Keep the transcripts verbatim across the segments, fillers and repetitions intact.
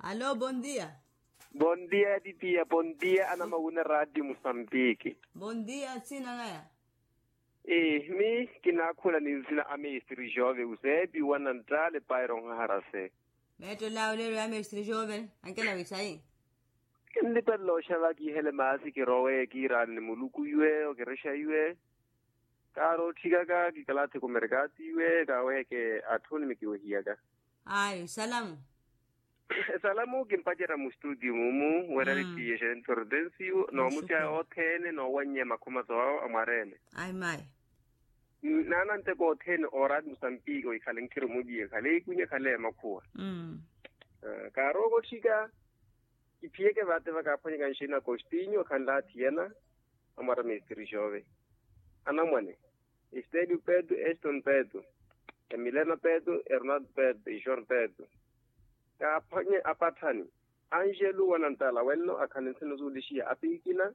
Alo, bondia. Bondia titiya bondia anamawuna radio musambiki. Bondia nsina naya. Ii mi kinaakhula ni nsina a mestre jove useepi wananttale pairo nhaharase. Meetto lawo leelo ya mestre jove ankela wisayi. Kinlipelela oxava kiihele maasi kirowe kiiraani ni muluku iwe okirexa iwe. Kaari otthikaka kikalathi kumerkati iwe kaaweheke atthuni mikiwehiyaka. Ayo esalamu. Esalamu kimpacerya mu studio mumu werari tiye xentortensiyo noomusiya othene noowanyeya makhomaso awo amwareene. Ayi mayi. Naana nteko othene oorati musambiki ohikhale nkhiru muliye khale ikunye khale makhuwa. Kaari okotthika. Kiphiyeke vate vakaaphwanyaka nxina kostinyo khanlathi yena. Amwara mistiri xove anamwane. Estelio pedro eston pedro. Emilena pedro ernaldo pedro ixon pedro. Kaaphwanye apatthani. Anjelu wanantala wenno akhani nsino suulixiya apiikina.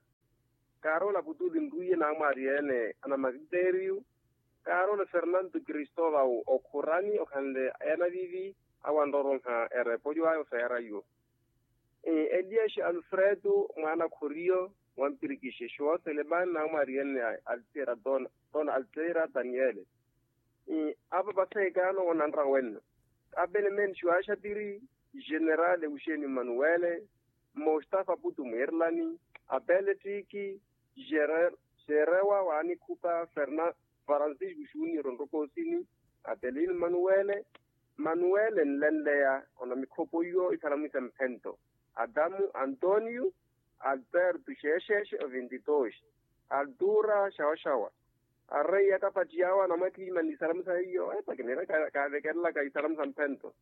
Kaaroola putuli nrwiye naamwaariyeene anamakiteriyu. Kaaroola fernanto kristovao okhurani okhanle ena vivi. Awanroronha erepolyo ayo feera yo. Elias alfredo mwaana khoriyo. Wampirikixe xuwa selemani naamwaariyeene altera dona altera daniele. Apa paseekaano onanra wenno. Apelemeni xuwaxapiri. Generale uxeni manuwele. Mustafa putu mwirlani. Apele tiki. Jerewa waanikhupa ferna farancisco xunior onrokosini. Apele inu manuwele. Manuwele nlenleya. Onamikhopo iyo isalamu isemphento. Adamu antonio. Alberto xeexeexe ovintitoxi. Altura xawaxawa. Arreiya kapattiyaawa namwakhiimani isalamu sa hiyo epakinira. Kaavekerelaka isalamu sa mphento.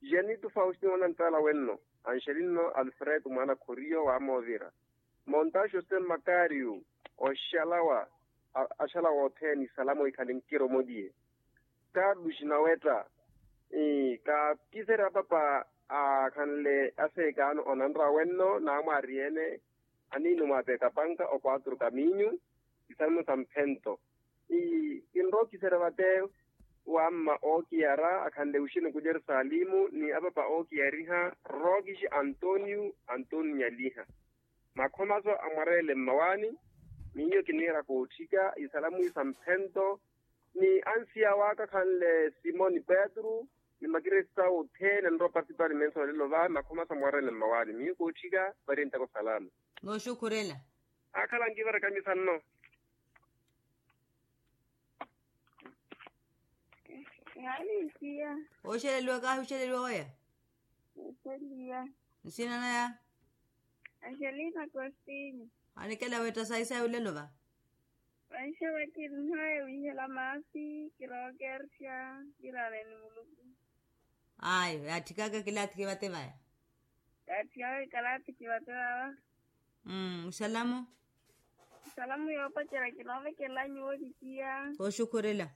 Janitu faustino onantala wenno. Anxelinno alfredo mwaana khoriyo waamoovira. Monta josé makario. Oxalawa axalawa othene isalamu ikhale nkiromoliye. Carlos nawetta. Kaakiserya papa akhanle aseekaano onanra wenno naamwaariyeene. Aniino mwaapeka panka okwatru kaminyu. Isalamu sa mphento. Kinrokiserya vate wamma ookiyara akhanle uxini ku jerusalemu ni apapa ookiyariha. Rokixi antonio antonio nyaliha. Makhomaso amwareele mmawaani. Miyo kiniira kootthika isalamu sa mphento. Ni ansiya waka khanle simoni petru. Ni makiresi sawe othene nropa sipani menso olelo va makhomaso amwareele mmawaani miyo kootthika. Varientako salama. Nooxukhurela. Akhala nkivaraka misanno. Oxeleliwa kahi oxeleliwa oya. Nsina naya. Angelina costinho. Anikela wetta sayi sayi olelo va. Vanxeva kirinhaya wihela maasi kirookerxa. Kirareni muluku. Ayo yaatthikaka kilathi kivate vaya. Yaatthikaka kilathi kivate vava. Musalamu. Musalamu yoopacerya kinoovekelela nyuwo titiya. Kooxukhurela.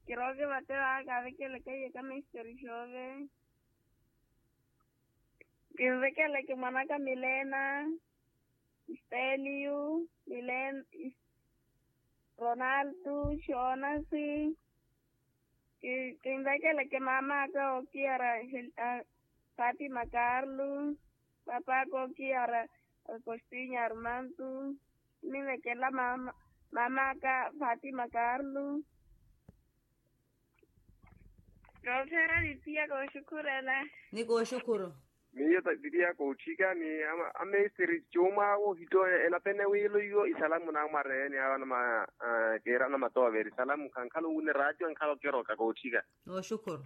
Kirooke vate vava kaavekeleke iye kamesiteri xoove. Kinvekeleke mwanaka milena. Steliu. Milena. Ronaldo. Xonasi. Kinvekeleke mamaka okiyara. Fatima carlo. Papaka okiyara. Agostinho armanto. Kinvekela mamaka fatima carlo. Kooxera titiya kooxukhurela. Ni kooxukhuru. Miyo titiya kootthika ni amesteri cuuma awo ohitto enapene wiilo iyo isalamu naamwareeni awo anamakeera anamatooveri isalamu khankhala owune raatiyo ankhala okiroka kootthika. Nooxukhuru.